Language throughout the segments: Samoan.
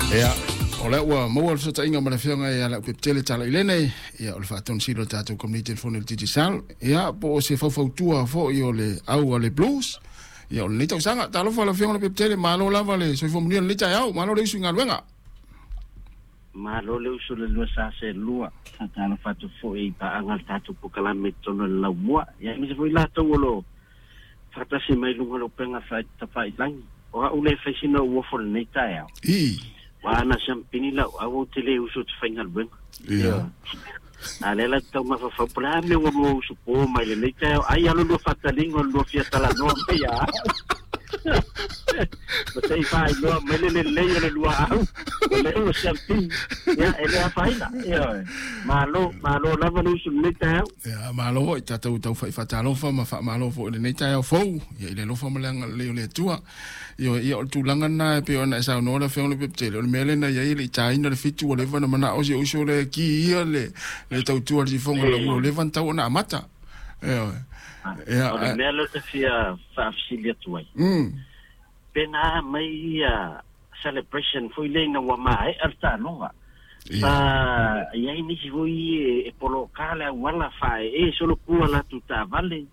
Ia, o lea ua maua le fesootaiga ma le Afioga ia Leaupepe Talailene, ia o le faatonusili o le tatou Komiti o le Fono i le Digicel, ia po o se faufautua foi o le au a le Blues, ia o lenei tausaga. Talofa lau Afioga Leaupepe, malo lava le soifua manuia i lenei taeao, malo le usu i galuega. Malo le usu le lua sa se lua. Faatalofa atu foi i paaga o le tatou polokalame i totonu o le laumua. Ia aemaise foi latou o lo o faatasi mai i luga o le upega tafailagi. O au le fai sina ou ofo i lenei taeao. Ua ana siampini lau au ou te le usu ou te faigaluega. A lea la te tau mafaufau po o le a mea ua lua usu po mai lenei taeao. Ai alo lua faataliga o le lua fia talanoa mai ia au. Ma se i faailoa mai le lelei o le lua au. O lea ua siampini. Ia, e le afaina. Ioe. Malo, malo lava le usu i lenei taeao. Ia, malo foi, tatou taufai faatalofa ma faamalo foi i lenei taeao fou, ia i le alofa ma le agalelei o le Atua. Ioe, ia o le tulaga lena e pei ona e saunoa le Afioga i le Pepetele, o le mea lea na i ai e le i taina le 7 ua leva ona manao si ou uso lea e ki ia le tautua i le sifoga o le ua leva ona tatau ona amata. Ioe. Ia, o le mea lea ou te fia faafesili atu ai, pe na mai ia celebration foi lea ina ua maea le taaloga. Sa i ai nisi foi e poloka le auala faaee solopua latou taavale.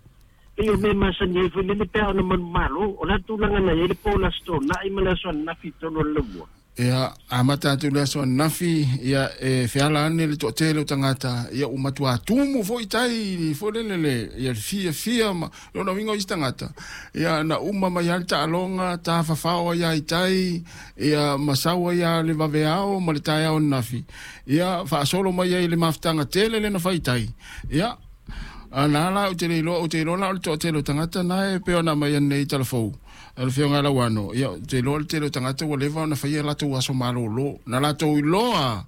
Pei o mea masani ai foi lele pe a ona manumalo. O le a le tulaga na i ai le po o le Aso Toonai ma le aso ananafi i totonu o le laumua? Ia, amata atu i le aso ananafi, ia, e feala ane le toatele o tagata, ia, ua matuā tumu foi tai foi lele le, ia, le fiafia ma lona uiga o isi tagata, ia, na uma mai lava le taaloga, tafafao ai lava i tai, ia, ma sau ai lava le vaveao ma le taeao ananafi, ia, faasolo mai ai i le mafutaga tele lea na fai i tai, ia, a na la ou te le iloa, ou te iloa la o le toatele o tagata na e pei ona aumai nei i Talafou. O le Afioga ia Lauano, ia, ou te iloa le tele o tagata ua leva ona faia latou aso malolo. Na latou iloa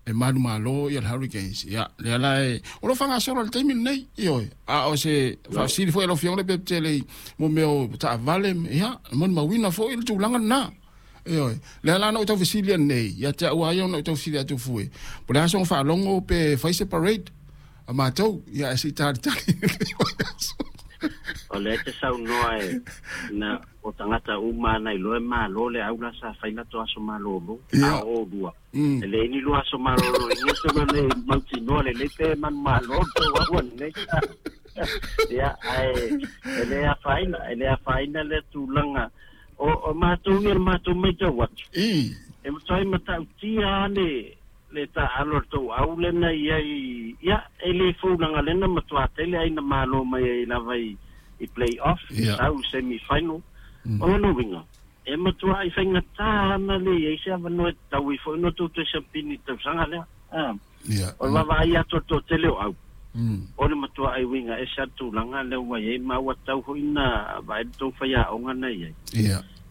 e manumalo ia le Hurricanes. Ia, lea la e, o lo o faagasolo i le taimi lenei, ioe. A o se faafesili foi a lau Afioga le Pepetele i mo mea o taavale, ia, e molimauina foi le tulaga lena. Ioe. Lea la na ou tau fesili nei, ia te au lava ia ona ou tau fesili atu fue, po o le a soona faalogo pe fai se parade a matou, ia ae se i talitali. O lea e te saunoa e na o tagata uma ana iloa e malo le au la sa fai latou aso malolo, a o oulua e leai ni lua aso malolo i ia tulaga nei mautinoa lelei pe manumalo le tou au ananei. Ia, ae e le afaina, e le afaina lea tulaga. O matou ia, le matou matau atu, e matuai matautia lava le le taaalo a le tou au lea na i ai, ia, e le fou leaga lea na matua tele ai na malo mai ai lava i i play off, sau i semi final. O lona uiga, e matuai faigata ana le i ai se avanoa e tatau ai foi ona tou toe siampini i le tausaga lea. O le vaavaai atu a le toatele o au, o le matuai uiga ese lava le tulaga lea ua i ai, ma ua tatau foi ona vaai le tou faiaoga na i ai.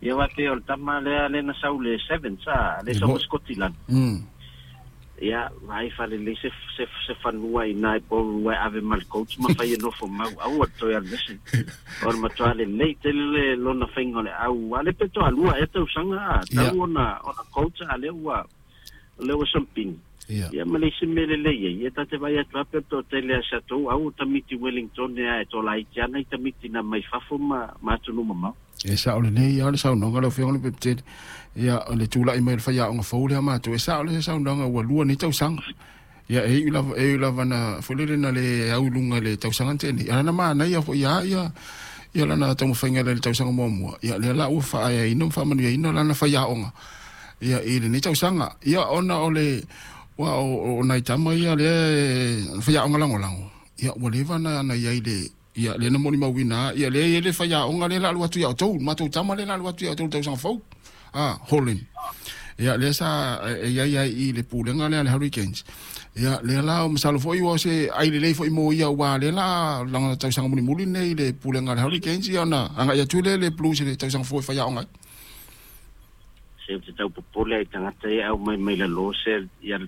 Ia aua pei o le tama lea lea na sau le Sevens a, lea sau mai Sikotilani. Ia, vaai faalelei se se se fanua i ina i Porirua e ave ma le coach ma fai e nofo mau, aua le toe alu ese. O le matua lelei tele le lona faiga o le au, a o lea pe toalua ea tausaga a, tau ona ona coach a lea ua o lea ua sampini. Ia ma le isi mea lelei ai, ia ta te vaai atu lava pe o le toatele a si atou au o tamiti Wellington ea e tolaiti ana i tamiti na mai fafo ma ma atunuu mamao. E sao lelei lava le saunoaga lau Afioga Lepetele. Ia, o le tulai mai o le faiaoga fou lea matou, e sao le saunoaga ua lua nei tausaga. Ia, e iu lava, e iu lava na, foi lele na le au i luga i le tausaga na tea nei, a na manaia foi lava ia, ia lana taumafaiga i le tausaga muamua. Ia, lea la ua faaeaina ma faamanuiaina lana faiaoga, ia, i lenei tausaga. Ia, ona o le, aua o nai tama ia lea e faiaoga lagolago, ia, ua leva ona i ai i le Ia, lea na molimauina lava, ia, lea e i ai le faiaoga lea o le a alu atu ia outou, le matou tama lea o le a alu atu ia outou i le tausaga fou, a, Holland. Ia, lea sa e i ai ai i le pulega lea a le Hurricanes. Ia, lea la, masalo foi ua o se ai lelei foi mo ia, aua lea la lana tausaga mulimuli lenei i le pulega a le Hurricanes, ia ona agai atu lea i le Blues i le tausaga fou e faiaoga ai. Se ou te tau popole ai i tagata ia e aumai mai lalo se ia.